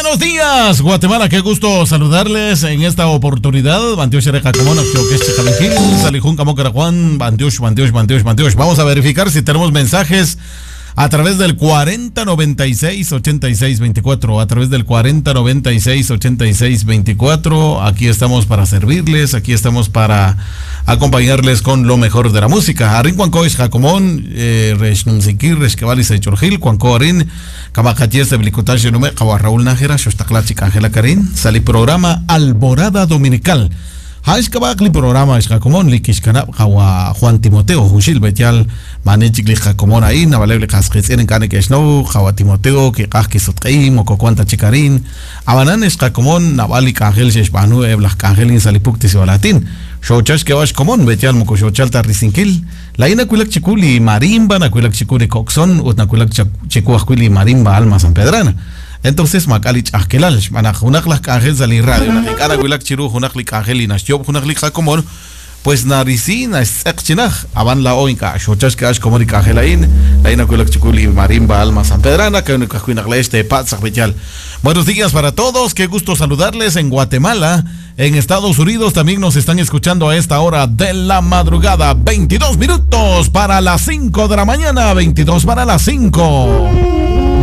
Buenos días, Guatemala. Qué gusto saludarles en esta oportunidad. Vamos a verificar si tenemos mensajes a través del 4096-8624. A través del 4096-8624. Aquí estamos para servirles, aquí estamos para acompañarles con lo mejor de la música. Arin Cuancois, Jacomón, Reshnumsikir, Reshkebali, Sechorgil, Cuanco Arin, Kamakaties de Blicotash, Nume, Raúl Nájera, Xoshtaclachic, Ángela Karin, Sali programa Alborada Dominical. Haishkabakli programa Xjacomón, Likishkanab, Jawa Juan Timoteo, Jushil Betial, Manechik Jacomón ahí, Navalebli Casquetzin, Kane Keshno, Jawa Timoteo, Kikajki Sotqi, Mococuanta Chicarín, Abanan Xjacomón, Navali Kangel Sheshbanu, Eblaj Kangelin Salipuktis Latín. Xochash Kewash Comón, Betial Mocosochalta Rizinkil, La Ina Cuilac Chiculi Marimba, Nacuilac Chicuri Coxón, Utnacuilac Chicuajuili Marimba Alma San Pedrana. Entonces, Macalich Ajkelal, Manaj, Junaklas Kangel Sali Radio, Najikara Cuilac Chiru, Junakli Kangel y Nashtiob, Junakli Jacomón, pues Naricina, Exchinaj, Aban la Oinka, Xochash Kewash Comón y Kangelain, La Ina Cuilac Chiculi Marimba Alma San Pedrana, que este Patzaj Betial. Buenos días para todos, qué gusto saludarles en Guatemala. En Estados Unidos también nos están escuchando a esta hora de la madrugada, 22 minutos para las 5 de la mañana, 22 para las 5.